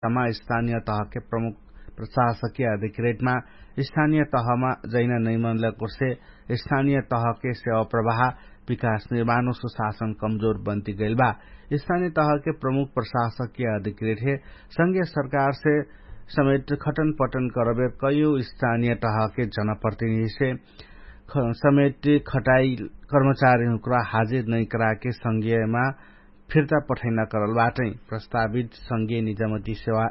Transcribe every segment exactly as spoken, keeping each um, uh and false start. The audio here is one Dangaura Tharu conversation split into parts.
तमा स्थानिय तहके प्रमुख प्रशासकिय अधिक्रेटमा स्थानिय तहमा जैना नैमनलक उर्से स्थानिय तहके सेवा प्रवाह विकास निर्माणो सुशासन कमजोर बन्ति गैल बा। स्थानिय तहके प्रमुख प्रशासकिय अधिक्रेट हे संगे सरकारसे समेट खटन पटन करबे कयु स्थानिय तहके जनप्रतिनिधिसे समेट खटाई कर्मचारी हुक्रा हाजिर नैकराके संगेमा फिर्ता पठैना करल बाटै। प्रस्तावित संगे निजमति सेवा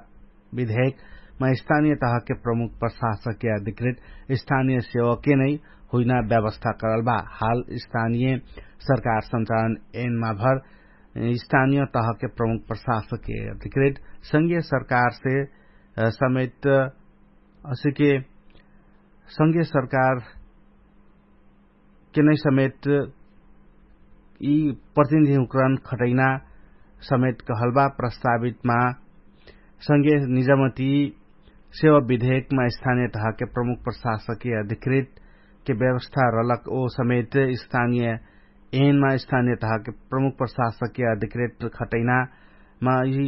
विधेयकमा स्थानिय तहके प्रमुख प्रशासकिय अधिक्रेट स्थानिय सेवके नै हुइना व्यवस्था करल बा। हाल स्थानिय सरकार संचालन एनमा भर स्थानिय तहके प्रमुख प्रशासकिय अधिक्रेट संगे सरकारसे समेट असिके संगे सरकार केनै समेट यि प्रतिनिधि हुक्रन खटैना समेट कहलबा। प्रस्तावितमा संगे निजमति सेवा विधेयकमा स्थानिय तहके प्रमुख प्रशासकिय अधिक्रेट के व्यवस्था रलक ओ समेट स्थानिय एनमा स्थानिय तहके प्रमुख प्रशासकिय अधिक्रेट खटैनामा यि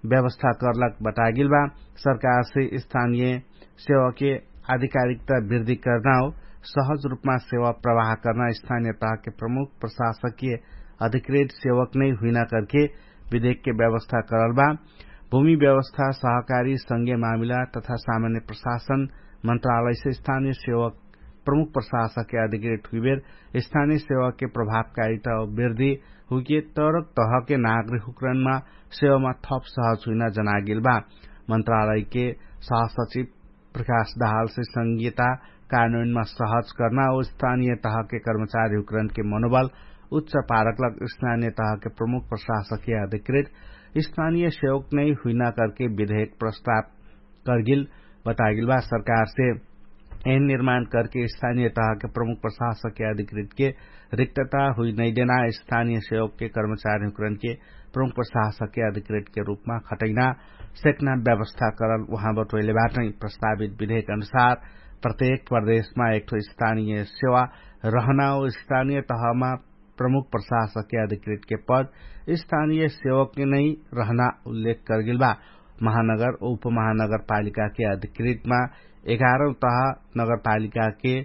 व्यवस्था करलक बतागेल बा। सरकारसे स्थानिय सेवाके आधिकारिकता वृद्धि कर्ना हो सहज रुपमा सेवा प्रवाह कर्ना स्थानिय तहके प्रमुख प्रशासकिय अधिक्रेट सेवक नै हुइना करके विधेकके व्यवस्था करल बा। भूमि व्यवस्था सहकारी संगे मामिला तथा सामान्य प्रशासन मन्त्रालयसे स्थानिय सेवक प्रमुख प्रशासकके अधिकृत हुइबेर स्थानिय सेवाके प्रभावकारिता वृद्धि हुइके तरक तहके नागरिक हुक्रनमा सेवामा थप सहज हुइना जनागेल बा। मन्त्रालयके सहसचिव प्रकाश दहालसे संघीयता कानुनमा सहज कर्ना ओ स्थानिय तहके कर्मचारी हुक्रनके मनोबल उच्च पारकलक स्थानिय तहके प्रमुख प्रशासकके अधिकृत स्थानिय सेवक नै हुइना करके विधेक प्रस्ताव करगेल बतागेल बा। सरकारसे एन निर्माण करके स्थानिय तहके प्रमुख प्रशासकके अधिकृतके रिक्तता हुइ नैदेना स्थानिय सेवकके कर्मचारी हुक्रनके प्रमुख प्रशासकके अधिकृतके रुपमा खटैना सेक्ना व्यवस्था करल उहाँ बटोइले बाटै। प्रस्तावित विधेक अनुसार प्रत्येक प्रदेशमा एकठो स्थानिय सेवा रहना ओ स्थानिय तहमा प्रमुख प्रशासकके अधिकृतके पद स्थानिय सेवकके नै रहना उल्लेख करगेल बा। महानगर उपमहानगरपालिकाके अधिकृतमा एघारौं तह नगरपालिकाके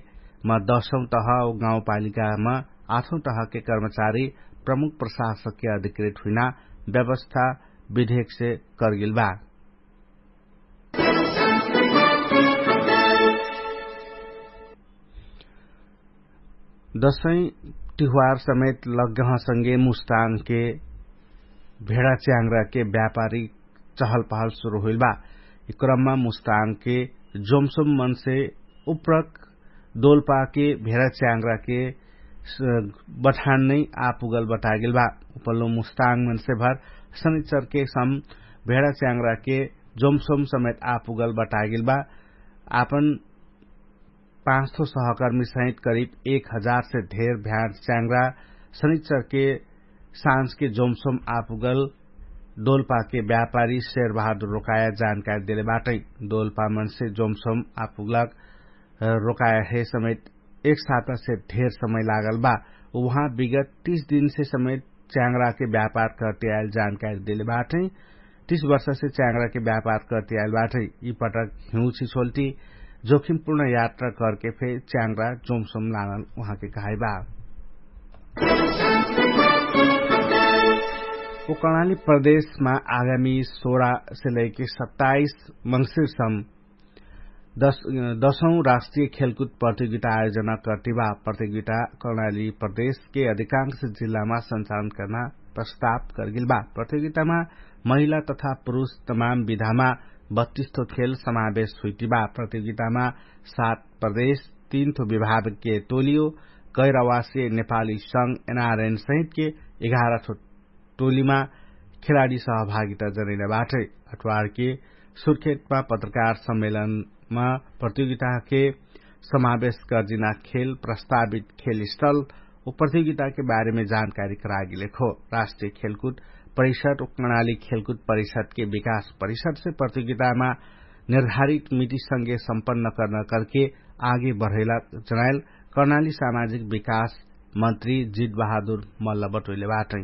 मा दसौं तह गाउँपालिकामा आठौं तहके कर्मचारी प्रमुख प्रशासकके अधिकृत हुइना व्यवस्था विधेकसे करगेल बा। दसैं तिहुवार समेत लग्गह संगे मुस्तानके भेडा च्याङ्ग्राके व्यापारी चहलपहल सुरु हुइल बा। यि क्रममा मुस्तानके जोमसोम मनसे उप्रक दोलपाके भेडा च्याङ्ग्राके बठान नै आपुगल बटागेल बा। उपल्लो मुस्ताङ मनसे भर सनिचरके सम भेडा च्याङ्ग्राके जोमसोम समेत आपुगल बटागेल बा। आपन पाँचठो सहकर्मी सहित करिब एक हजार से धेर भ्याँड च्याङ्ग्रा सनिचरके साँझके जोमसोम आपुगल दोलपाके व्यापारी शेरबहादुर रोकाया जानकारी देले बाटै। दोलपा मनसे जोमसोम आपुगलक रोकाया हे समेत एक साता से धेर समय लागल बा। उहाँ विगत तीस दिनसे समेत च्याङ्ग्राके व्यापार करते आइल जानकारी देले बाटै। तीस वर्षसे च्याङ्ग्राके व्यापार करते आइल बाटै। यि पटक हिउँछि छोल्टी जोखिमपूर्ण यात्रा करके फे च्याङ्ग्रा जोमसोम लानल उहाँके कहाइ बा। ओ कर्णाली प्रदेशमा आगामी सोह्र से लैके सत्ताइस मंगसिरसम दसौं राष्ट्रिय खेलकुद प्रतियोगिता आयोजना कर्तिबा। प्रतियोगिता कर्णाली प्रदेशके अधिकांश जिल्लामा सञ्चालन कर्ना प्रस्ताव करगेल बा। प्रतियोगितामा महिला तथा पुरुष तमाम विधामा बत्तिस ठो खेल समावेश हुइतिबा। प्रतियोगितामा सात प्रदेश, तीन ठो विभागके टोलियो, गैरवासीय नेपाली संग एनआरएन सहितके एघार ठो टोलीमा खेलाडी सहभागिता जनैना बाटै। अठवारके सुर्खेतमा पत्रकार सम्मेलनमा प्रतियोगिताके समावेश गर्जिना खेल प्रस्तावित खेल स्थल ओ प्रतियोगिताके बारेमे जानकारी करागेले खो। राष्ट्रिय खेलकुद परिषद ओ कर्णाली खेलकुद परिषदके विकास परिषदसे प्रतियोगितामा निर्धारित मिटिसँगे सम्पन्न कर्न करके आगे बढैला जनाइल कर्णाली सामाजिक विकास मन्त्री जित बहादुर मल्ल बटोइले बाटै।